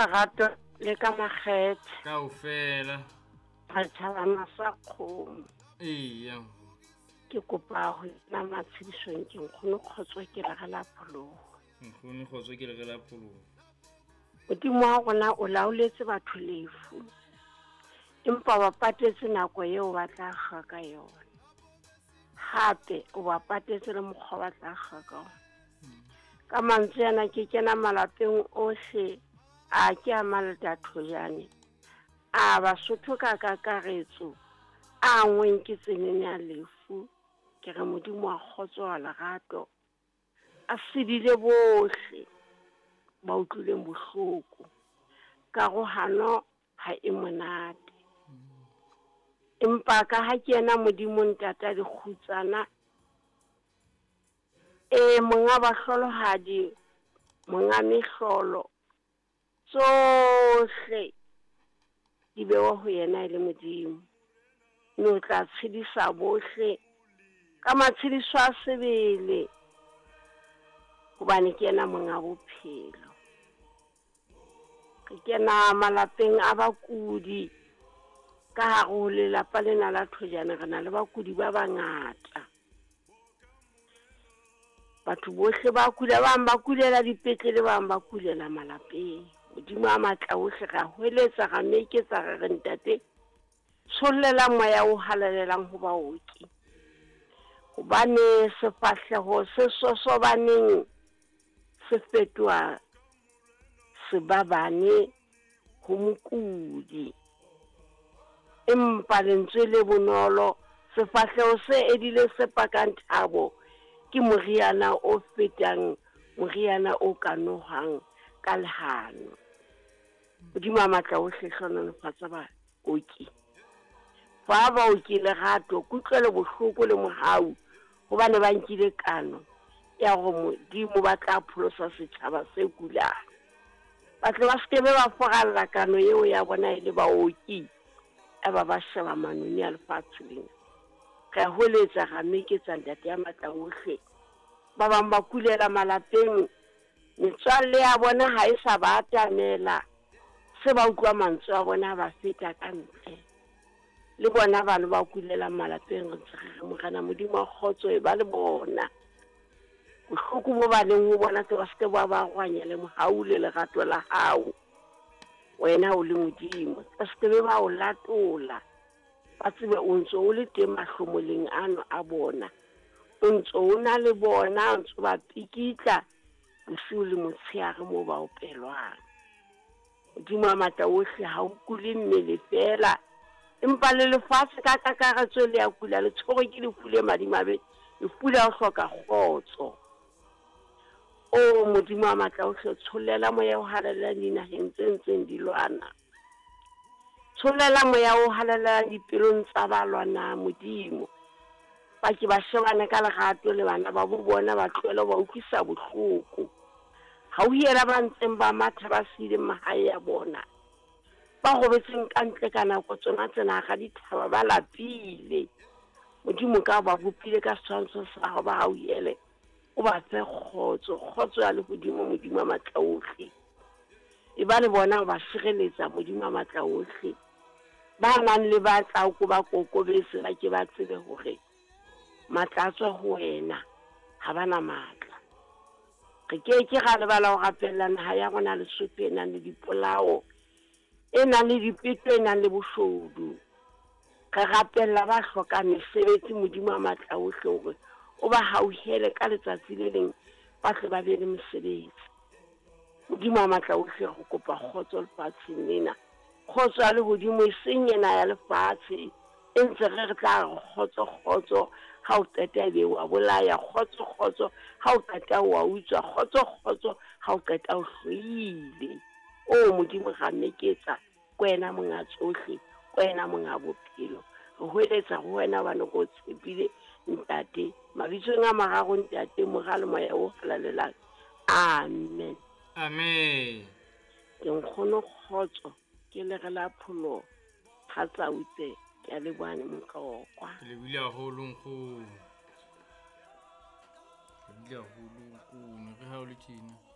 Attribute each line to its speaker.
Speaker 1: lerato le ka makgethe.
Speaker 2: Kaofela.
Speaker 1: Re tjhabana sa kgomo.
Speaker 2: Eya.
Speaker 1: Ke kopa ho na matshedisong ke nkgono Kgotso ke le re la pholoho.
Speaker 2: Nkgono Kgotso ke le re la pholoho.
Speaker 1: Modimo wa rona o laoletse batho lefu. Empa ba patetse nako eo ba tla kga ka yona. Hape o ba patetse le mokgwa ba tla kga ka ona. Ka mantswe ana ke kena malapeng ohle a ke a malta thojane. A Basotho ka kakaretso a ngweng ke tsenene ya lefu. Ke re Modimo wa kgotso wa lerato a sedile bohle ba utlwileng bohloko. Karohano ha e monate. Empa ka ha ke yena Modimo ntata dikgutsana, e monga bahlolohadi, monga mehlolo, tsohle di bewa ho yena e le Modimo. Mme o tla tshedisa bohle ka matshediso a sebele, hobane ke yena monga bophelo. Re kena malapeng a bakudi ka hare ho lelapa lena la Thojane, re na le bakudi ba bangata. Batho bohle ba kula, ba bang ba kulela dipetlele, ba bang ba kulela malapeng. Modimo a matla ohle ra hweletsa, ra meketsa, re re ntate, tshollela moya o halalelang ho baoki. Hobane sefahleho se sosobaneng se fetoha sebabane ho mokudi. Empa lentswe le bonolo, sefahleho se edile se pakang thabo, ke moriana o fetang moriana o ka nohwang ka lehano. Modimo a matla ohle hlohonolofatsa baoki. Fa baoki lerato, kutlwelo bohloko le mohau, hobane ba nkile kano ya hore Modimo ba tla pholosa setjhaba se kulang. Ba tle ba sekebe ba foralla kano eo ya bona e le baoki, eba ba sheba manoni a lefatshe lena. Re a hweletsa, ra meketsa ntate ya matla ohle. Ba bang ba kulela malapeng, metswalle ya bona ha e sa ba atamela, se ba utlwa mantswe a bona ba feta ka ntle. Le bona bano ba kulelang malapeng, re ntse re re Morena Modimo wa kgotso e ba le bona. Bohloko bo ba leng ho bona tle ba seke ba ba rwanya le mohau le lerato la hao. Wena o le Modimo, ba seke be ba o latola. Ba tsebe o ntso o le teng mahlomoleng ano a bona. O ntso o na le bona, o ntso ba pikitla bosiu le motshehare moo ba opelwang. Modimo a matla ohle ha o kule mmele feela, empa le lefatshe ka kakaretso le ya kula, le tshwerwe ke lefu le madimabe, lefu la ho hloka kgotso. O Modimo a matla ohle, tshollela moya o halalelang dinaheng tse ntseng di lwana. Tshollela moya o halalelang dipelong tsa ba lwanang, Modimo. Ba ke ba shebane ka lerato le bana ba bo bona, ba tlohele ho ba utlwisa bohloko. Hauhela ba ntseng ba matha ba siileng mahae a bona, ba robetseng ka ntle ka nako tsona tsena hara dithaba ba lapile. Modimo ka ba bopile ka setshwantsho sa hao, ba hauhele, o ba fe kgotso, kgotso ya lehodimo, Modimo a matla ohle. E ba le bona o ba sireletsa, Modimo a matla ohle. Ba nang le ba tla ko ba kokobetse, ba ke ba tsebe hore matla a tswa ho wena, ha ba na matla. Re ke ke ra lebala ho rapella naha ya rona Lesotho e nang le dipolao, e nang le dipeto, e nang le boshodu. Re rapella ba hlokang mesebetsi, Modimo a matla ohle, hore o ba hauhele ka letsatsi le leng ba tle ba be le mosebetsi. Modimo a matla ohle, re kopa kgotso lefatsheng lena. Kgotso ya lehodimo, e seng ena ya lefatshe. E ntse re re tla re kgotso kgotso, ha o qeta ebe wa bolaya, kgotso kgotso, ha o qeta wa utswa, kgotso kgotso, ha o qeta o hloile. O Modimo ra meketsa, ke wena monga tsohle, ke wena monga bophelo. Re hweletsa ho wena hobane re o tshepile, Ntate. Mabitsong a mararo, Ntate, Mora le Moya o Halalelang. Amen.
Speaker 2: Amen.
Speaker 1: Ke nkgono Kgotso, ke le re la pholoho, ha tsautse, ke a leboha Motlokwa.
Speaker 2: Ke lebohile haholo nkgono. Ke lebohile haholo nkgono, re ha o le tjena.